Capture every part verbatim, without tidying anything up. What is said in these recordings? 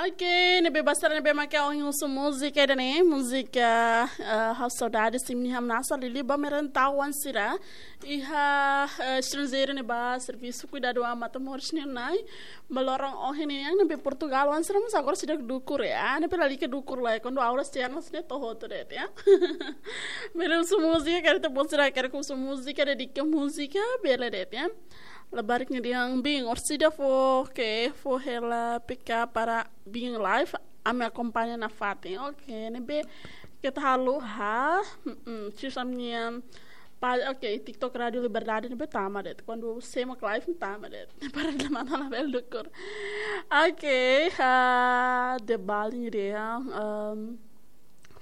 Ok, ne'ebé ba sira ne'ebé maka ohin husu múzika ida-ne'e, múzika, eh, Ha'u Saudade Sim Nia Hamnasa, liuliu ba merentau-oan sira iha, eh, estranjeiru ne'ebá servisu kuidadu an matan-moris nian, ba loron ohin nian, ne'ebé Portugal-oan sira mós agora seidauk dukur, ya, ne'ebé lalika dukur lai, kuandu aulas tiha ona sira to'o hotu de'it, ya. Bele husu múzika, karik ita-boot sira karik husu múzika, dedika múzika, bele de'it, ya. Labarik nia dehan biin, orsida fó, ke, fó hela P K para biin live, ami akompaña nafatin. Ok, ne'ebé keta haluha, mm, sira-nia pa-, ok, TikTok Rádio Liberdade ne'ebé tama de'it. Kuandu semo live tama de'it. Para lemata labele dukur. Ok, ah, de Bali nia dehan, um,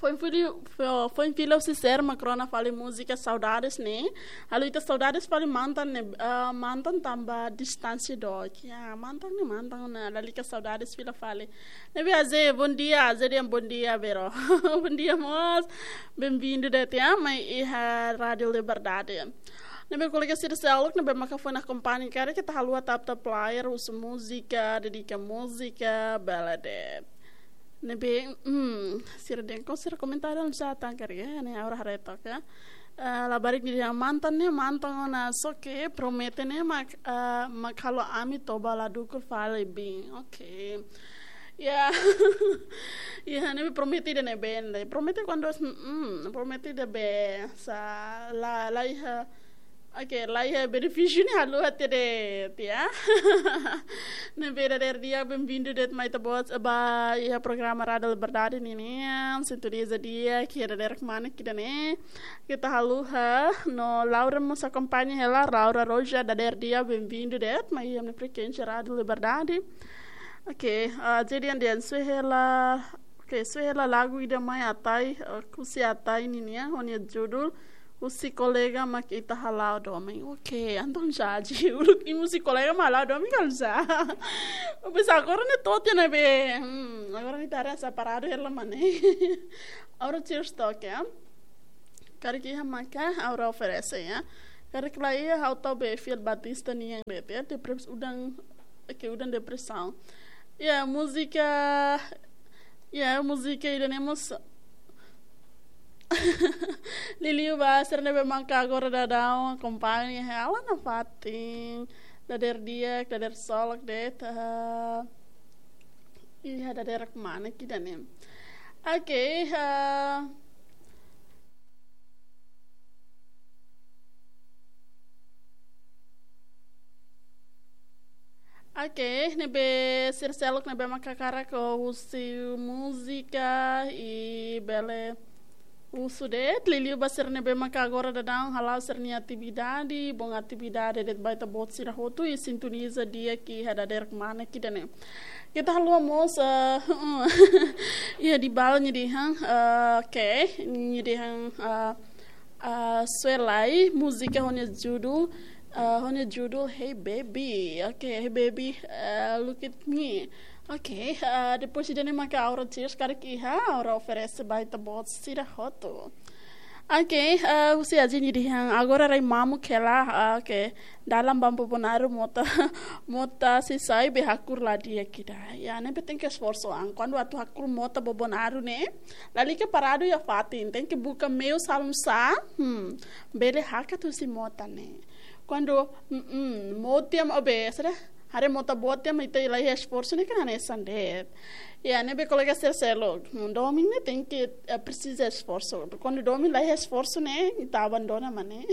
foin fila, fo-, foin fila husi sira mak rona fali múzika Saudades ne'e. Halo ita saudades fali mantan ne'e, ah, mantan tanba distánsia dook. Ya, mantan ne'e mantan ona, lalika saudades fila fali. Ne'ebé Aze, bom dia, Aze dehan bom dia, bro. Bom dia, mós. Bem-vindo de'it, ya, mai iha Rádio Liberdade. Ne'ebé kolega sira seluk, ne'ebé maka foin akompaña karik ita haluha tap-tap layar, husu múzika, dedika múzika, bele de'it. Ne'ebé, hmm, sira dehan ko sira komentáriu sá tan karik, ya, ne'e agora haree took, ya. Eh, labarik nia dehan mantan ne'e, mantan ona, só ke promete ne'e mak, eh, mak halo ami toba la dukur fali biin. Ok. Ya. Ya, ne'ebé promete ida-ne'ebé, ne'e. Promete kuandu, mm, promete ida-ne'ebé, sá, la, la iha, ok, la iha benefísiu ne'e haluha tiha de'it, ya. Ne'ebé dadeer di'ak, bem-vindo de'it mai ita-boot ba iha programa Rádio Liberdade ninian, sintoniza di'ak iha dadeer kmanek ida-ne'e. Keta haluha, no Laura mós akompaña hela, Laura Roja, dadeer di'ak, bem-vindo de'it mai iha ami-nia frekuénsia Rádio Liberdade. Ok, ah, jadi yang dia, sue hela, ok, sue hela lagu ida mai Atai, ah, husi Atai ninian, ho nia judul, husi kolega mak ita hala'o domin. Ok, entaun já, de uluk imi husi kolega mak hala'o domin kala sá. Pois agora ne'e to'o tiha ona be. Hmm, agora ne'e ita haree separadu hela mane. Agora cheers toke, ya. Karik iha maka ha'u oferese, ya. Karik la iha ha'u tau be Fiel Batista nian de'it, ya. Depres-, udan, ke udan depresaun. Ya, múzika, ya, múzika ida-ne'e mós liuliu ba sira ne'ebé maka agora daudaun akompaña hela nafatin. Dadeer di'ak, dadeer solok de'it, ah, iha dadeer kmanek ida-ne'e. Ok, ah, ok, ne'ebé sira seluk ne'ebé maka hakarak husu múzika, i bele husu de'it, liuliu ba sira ne'ebé maka agora daudaun hala'o sira-nia atividade, bom atividade de'it ba ita-boot sira hotu, i sintoniza di'ak iha dadeer kmanek ida-ne'e. Keta haluha mós, eh, iha Dibal nia dehan, eh, ok, nia dehan, eh, eh, sue lai, múzika ho nia judul, eh, ho nia judul Hey Baby. Ok, Hey Baby, eh, look at me. Ok, eh, depois ida-ne'e maka ha'u cheers karik iha, ha'u oferese ba ita-boot sira hotu. Ok, eh, husi Aze nia dehan, agora rai mamuk hela, ah, ok. Dalan ba Bobonaro mota, mota sei sai be hakur la di'ak ida. Ya, ne'ebé tenke esforsu an. Kuandu atu hakur mota Bobonaro ne'e, lalika paradu iha fatin, tenke buka meius hanesan sá, hmm, bele hakat husi mota ne'e. Kuandu, mm, mm, mota mak, oh, be, sá de'it, haree mota boot mak ita la iha esforsu ne'e kan hanesan de'it. Ya, ne'ebé kolega sira seluk. Hmm, domin ne'e tenke, eh, presiza esforsu. Kuandu domin la iha esforsu ne'e, ita abandona mane.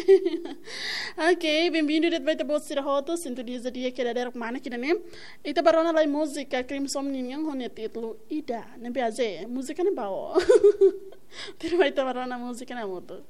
Ok, bem-vindo de'it ba ita-boot sira hotu, sintoniza di'ak iha dadeer kmanek ida-ne'e. Ita bá rona lai múzika Crimson ninian ho nia títulu Ida. Ne'ebé Aze, múzika ne'e ba ó. Tuirmai ita bá rona múzika ne'e hamutuk.